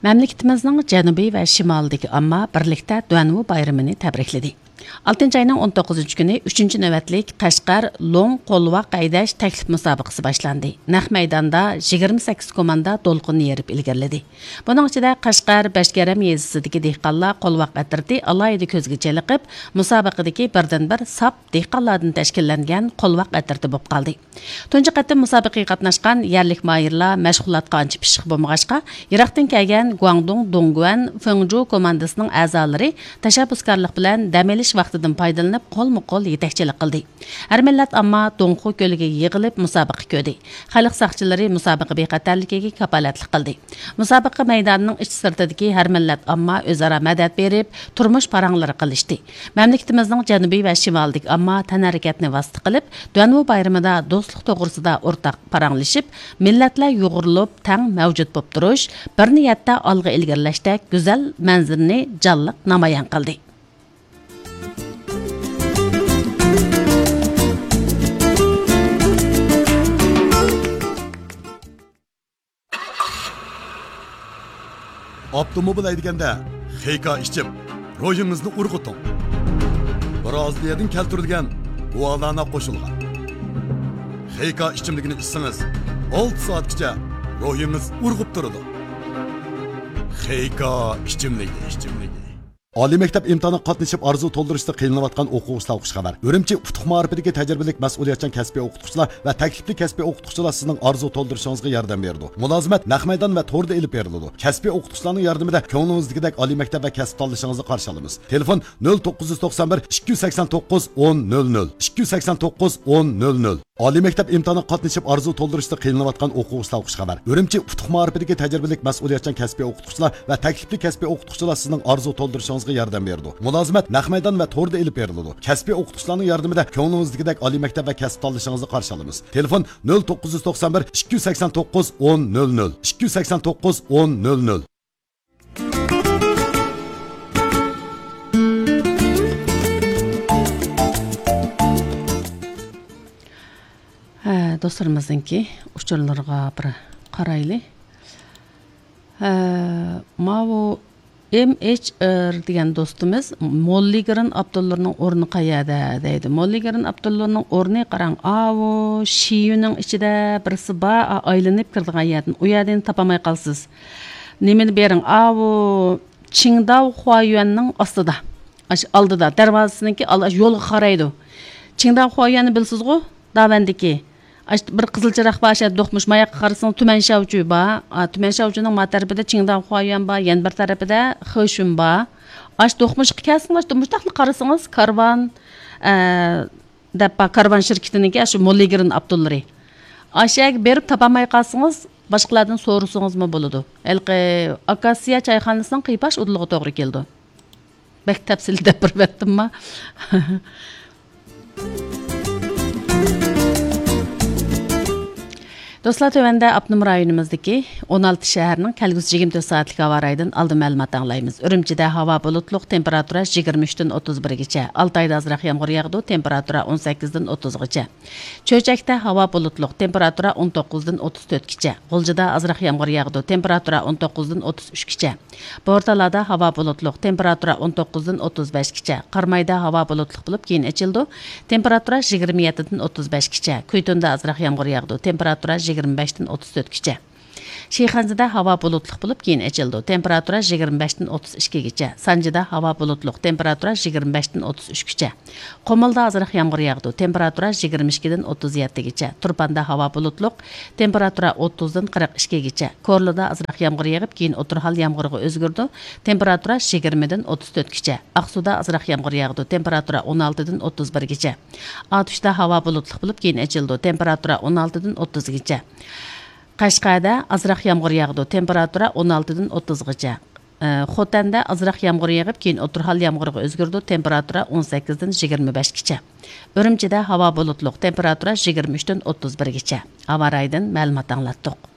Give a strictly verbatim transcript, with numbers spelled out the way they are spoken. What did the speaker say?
مەملىكىتىمىزنىڭ جەنۇبى ۋە شىمالىدىكى ئامما بىرلىكتە دۇەنۋۇ بايرىمىنى تەبرىكلىدى. ئالتىنچى ئاينىڭ ئون توققۇزىنچى كۈنى ئۈچىنچى نۆۋەتلىك قەشقەر لوڭ قولۋاق ھەيدەش تەكلىپ مۇسابىقىسى باشلاندى. نەق مەيداندا يىگىرمە سەككىز كوماندا دولقۇننى يېرىپ ئىلگىرىلىدى. بۇنىڭ ئىچىدە قەشقەر بەشكەرەم يېزىسىدىكى دېھقانلار قولۋاق ئەترىتى ئالاھىدە كۆزگە چېلىقىپ، مۇسابىقىدىكى بىردىنبىر ساپ دېھقانلاردىن تەشكىللەنگەن قولۋاق ئەترىتى بولۇپ قالدى. تۇنجى قېتىم مۇسابىقىگە قاتناشقان يەرلىك ماھىرلار مەشغۇلاتقا ئانچە پىششىق بولمىغاچقا، يىراقتىن كەلگەن گۇاڭدۇڭ دۇڭگۇەن فېڭجۇ كوماندىسىنىڭ ئەزالىرى تەشەببۇسكارلىق بىلەن دەم ئېلىش ۋاقتىدىن پايدىلىنىپ، قولمۇ قول يېتەكچىلىك قىلدى. ھەر مىللەت ئامما دۇڭخۇ كۆلىگە يىغىلىپ مۇسابىقە كۆردى. خەلق ساقچىلىرى مۇسابىقە بىخەتەرلىكىگە كاپالەتلىك قىلدى. مۇسابىقە مەيدانىنىڭ ئىچ سىرتىدىكى ھەر مىللەت ئامما ئۆزئارا مەدەت بېرىپ، تۇرمۇش پاراڭلىرى قىلىشتى. مەملىكىتىمىزنىڭ جەنۇبى ۋە شىمالىدىكى ئامما تەنھەرىكەتنى ۋاسىتە قىلىپ، دۇەنۋۇ بايرىمىدا دوستلۇق توغرىسىدا ئورتاق پاراڭلىشىپ، مىللەتلەر يۇغۇرۇلۇپ تەڭ مەۋجۇت بولۇپ تۇرۇش، بىر نىيەتتە ئالغا ئىلگىرىلەشتەك گۈزەل مەنزىرىنى جانلىق نامايان قىلدى. ئاپتوموبىل ھەيدىگەندە خېيكا ئىچىپ، روھىڭىزنى ئۇرغۇتۇڭ. برازىلىيەدىن كەلتۈرۈلگەن گۇالانا قوشۇلغان خېيكا ئىچىملىكىنى ئىچسىڭىز، ئالتە سائەتكىچە روھىڭىز ئۇرغۇپ تۇرىدۇ. خېيكا ئىچىملىكى، ئىچىملىكى. ئالىي مەكتەپ ئىمتىھانىغا قاتنىشىپ ئارزۇ تولدۇرۇشتا قىينىلىۋاتقان ئوقۇغۇچىلارغا خۇش خەۋەر. ئۈرۈمچى ئۇتۇق مائارىپىدىكى تەجرىبىلىك مەسئۇلىيەتچان كەسپىي ئوقۇتقۇچىلار ۋە تەكلىپلىك كەسپىي ئوقۇتقۇچىلار سىزنىڭ ئارزۇ تولدۇرۇشىڭىزغا ياردەم بېرىدۇ. مۇلازىمەت نەق مەيدان ۋە توردا ئېلىپ بېرىلىدۇ. كەسپىي ئوقۇتقۇچىلارنىڭ ياردىمىدە كۆڭلىڭىزدىكىدەك ئالىي مەكتەپ ۋە كەسىپ تاللىشىڭىزنى قارشى ئالىمىز. تېلېفون: نۆل توققۇز يۈز توقسان بىر، ئىككى يۈز سەكسەن توققۇز، ئون نۆل نۆل، ئىككى يۈز سەكسەن توققۇز، ئون نۆل نۆل. ئالىي مەكتەپ ئىمتىھانىغا قاتنىشىپ ئارزۇ تولدۇرۇشتا قىينىلىۋاتقان ئوقۇغۇچىلارغا خۇش خەۋەر. ئۈرۈمچى ئۇتۇق مائارىپىدىكى تەجرىبىلىك مەسئۇلىيەتچان كەسپىي ئوقۇتقۇچىلار ۋە تەكلىپلىك كەسپىي ئوقۇتقۇچىلار سىزنىڭ ئارزۇ تولدۇرۇشىڭىزغا ياردەم بېرىدۇ. مۇلازىمەت نەق مەيدان ۋە توردا ئېلىپ بېرىلىدۇ. كەسپىي ئوقۇتقۇچىلارنىڭ ياردىمىدە كۆڭلىڭىزدىكىدەك ئالىي مەكتەپ ۋە كەسىپ تاللىشىڭىزنى قارشى ئالىمىز. تېلېفون: نۆل توققۇز يۈز توقسان بىر، ئىككى يۈز سەكسەن توققۇز، ئون نۆل نۆل، ئىككى يۈز سەكسەن توققۇز، ئون نۆل نۆل. ھە، دوستلىرىمىزنىڭكى ئۇچۇرلىرىغا بىر قارايلى. ھە، ماۋۇ ئېم ئېچ ئېر دېگەن دوستىمىز موللىگرېن ئاپتونلىرىنىڭ ئورنى قەيەردە دەيدۇ. موللىگرېن ئاپتونلىرىنىڭ ئورنى قاراڭ، ئاۋۇ شىيۈنىڭ ئىچىدە بىرسى بار، ئا-، ئايلىنىپ كىرىدىغان يەردىن. ئۇ يەردىن تاپالماي قالىسىز. نېمىنى بېرىڭ؟ ئاۋۇ چىڭداۋ خۇايۈەننىڭ ئاستىدا. ئاشۇ ئالدىدا، دەرۋازىسىنىڭكى ئال-، ئاشۇ يولغا قارايدۇ. چىڭداۋ خۇايۈەننى بىلىسىزغۇ؟ داۋەندىكى. ئاشۇ بىر قىزىل چىراغ بار، ئاشۇ دوقمۇش ماياققا قارىسىڭىز، تۈمەن شياۋچۈ بار. ئا، تۈمەن شياۋچۈنىڭ ما تەرىپىدە چىڭداۋ خۇايۈەن بار، يەنە بىر تەرىپىدە خېشۈن بار. ئاشۇ دوقمۇشقا كەلسىڭىز، ئاشۇ مۇشتاقلا قارىسىڭىز، كارۋان، ئە، دەپ بار، كارۋان شىركىتىنىڭكى ئاشۇ موللىگرېن ئاپتونلىرى. ئاشۇ يەرگە بېرىپ تاپالماي قالسىڭىز، باشقىلاردىن سورىسىڭىزمۇ بولىدۇ. ھېلىقى ئاكاسىيا چايخانىسىنىڭ قىيپاش ئۇدۇلىغا توغرا كېلىدۇ. بەك تەپسىلىي دەپ بېرىۋەتتىمما؟ دوستلار، تۆۋەندە ئاپتونوم رايونىمىزدىكى ئون ئالتە شەھەرنىڭ كەلگۈسى يىگىرمە تۆت سائەتلىك ھاۋا رايىدىن ئالدىن مەلۇمات ئاڭلايمىز. ئۈرۈمچىدە ھاۋا بۇلۇتلۇق، تېمپېراتۇرا يىگىرمە ئۈچتىن ئوتتۇز بىرگىچە. ئالتايدا ئازراق يامغۇر ياغىدۇ، تېمپېراتۇرا ئون سەككىزدىن ئوتتۇزغىچە. چۆچەكتە ھاۋا بۇلۇتلۇق، تېمپېراتۇرا ئون توققۇزدىن ئوتتۇز تۆتكىچە. غۇلجىدا ئازراق يامغۇر ياغىدۇ، تېمپېراتۇرا ئون توققۇزدىن ئوتتۇز ئۈچكىچە. بورتالادا ھاۋا بۇلۇتلۇق، تېمپېراتۇرا ئون توققۇزدىن ئوتتۇز بەشكىچە. قارامايدا ھاۋا بۇلۇتلۇق بولۇپ، كېيىن ئېچىلىدۇ، تېمپېراتۇرا يىگىرمە يەتتىدىن ئوتتۇز بەشكىچە. كۈيتۇندا ئازراق يامغۇر ياغىدۇ، تېمپېراتۇرا يىگىرمە بەشتىن ئوتتۇز تۆتكىچە. شىخەنزىدە ھاۋا بۇلۇتلۇق بولۇپ، كېيىن ئېچىلىدۇ، تېمپېراتۇرا يىگىرمە بەشتىن ئوتتۇز ئىككىگىچە. سانجىدا ھاۋا بۇلۇتلۇق، تېمپېراتۇرا يىگىرمە بەشتىن ئوتتۇز ئۈچكىچە. قۇمۇلدا ئازراق يامغۇر ياغىدۇ، تېمپېراتۇرا يىگىرمە ئىككىدىن ئوتتۇز يەتتىگىچە. تۇرپاندا ھاۋا بۇلۇتلۇق، تېمپېراتۇرا ئوتتۇزدىن قىرىق ئىككىگىچە. كورلىدا ئازراق يامغۇر يېغىپ، كېيىن ئوتتۇرا ھال يامغۇرغا ئۆزگىرىدۇ، تېمپېراتۇرا يىگىرمىدىن ئوتتۇز تۆتكىچە. ئاقسۇدا ئازراق يامغۇر ياغىدۇ، تېمپېراتۇرا ئون ئالتىدىن ئوتتۇز بىرگىچە. ئاتۇشتا ھاۋا بۇلۇتلۇق بولۇپ، كېيىن ئېچىلىدۇ، تېمپېراتۇرا ئون ئالتىدىن ئوتتۇزغىچە. قەشقەردە ئازراق يامغۇر ياغىدۇ، تېمپېراتۇرا ئون ئالتىدىن ئوتتۇزغىچە. ئە، خوتەندە ئازراق يامغۇر يېغىپ، كېيىن ئوتتۇرا ھال يامغۇرغا ئۆزگىرىدۇ، تېمپېراتۇرا ئون سەككىزدىن يىگىرمە بەشكىچە. ئۈرۈمچىدە ھاۋا بۇلۇتلۇق، تېمپېراتۇرا يىگىرمە ئۈچتىن ئوتتۇز بىرگىچە. ھاۋا رايىدىن مەلۇمات ئاڭلاتتۇق.